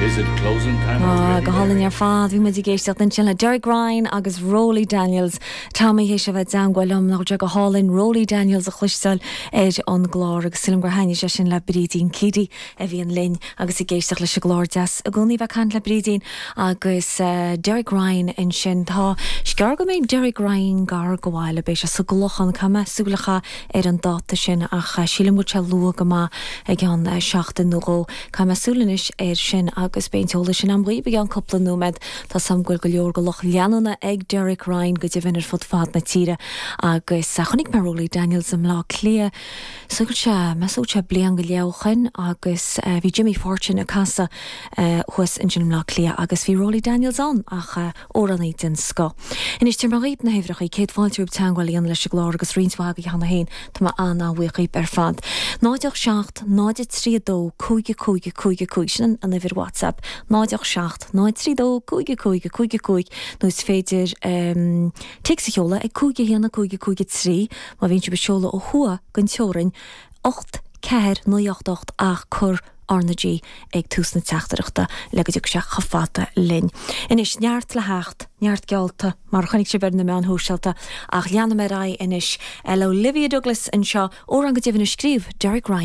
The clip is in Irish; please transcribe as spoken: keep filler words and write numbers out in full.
Is it closing time Ah, already? go hálainn ar fad bhí muid ag éisteacht ansin le Derek Ryan agus Rolly Daniels Tommy théis a bheith i dteagmháil liom nach go hálainn Rolly Daniels a chloisteáil ar an gclár agus sílim gur thaitin sé sin le Brídín Keady a bhíonn linn agus ag éisteacht leis an gclár deas i gcónaí bheith caint le Brídín agus uh, Derek Ryan ansin tá scear go mbeidh Derek Ryan gar go bhfuil beidh sé sa gClochán cama súlacha ar an dáta sin ach uh, sílim go sé luath go maith ag an uh, seachtain nó dhó Tá mé súlanis ar sin agus beidh an t-eolas sin agam i gceann cúpla nóiméad Tá sam ghfuil go leor go loch leanúna ag Derek Ryan go deimhin ar fud fad na tíre agus uh, chonaic mé Rolly Daniels i mBleá Cliath so sé measó sé blian go leochan agus uh, bhí Jimmy Fortune ag casadh uh, thuas ansin i mBleá Cliath agus bhí Rolly Daniels ann ach uh, amhránaí den scoth. Anois tar mar na huimhreacha céad fáilte teagmháil leis an gclár agus roinnt mhaith cheana féin Tá mé an-bhuíoch ar fad. Náid seacht náid trí dó cúig cúig cúig cúig sin an uimhir WhatsApp, náid seacht náid trí dó cúig cúig cúig cúig nó is féidir um, téacs a sheoladh ag cúig haon cúig cúig trí má bhíonn sibh ag seoladh ó thuaidh den teorainn ocht ceathair naoi ocht ocht ach cuir RnaG ag tús na teachtaireachta le go dtiocfaidh sé chomh fada linn. Anois neart le theacht, neart geallta mar chonaic sibh ar na meáin shóisialta ach leanfaidh mé anois le Olivia Douglas anseo amhrán go deimhin a scríobh Derek Ryan.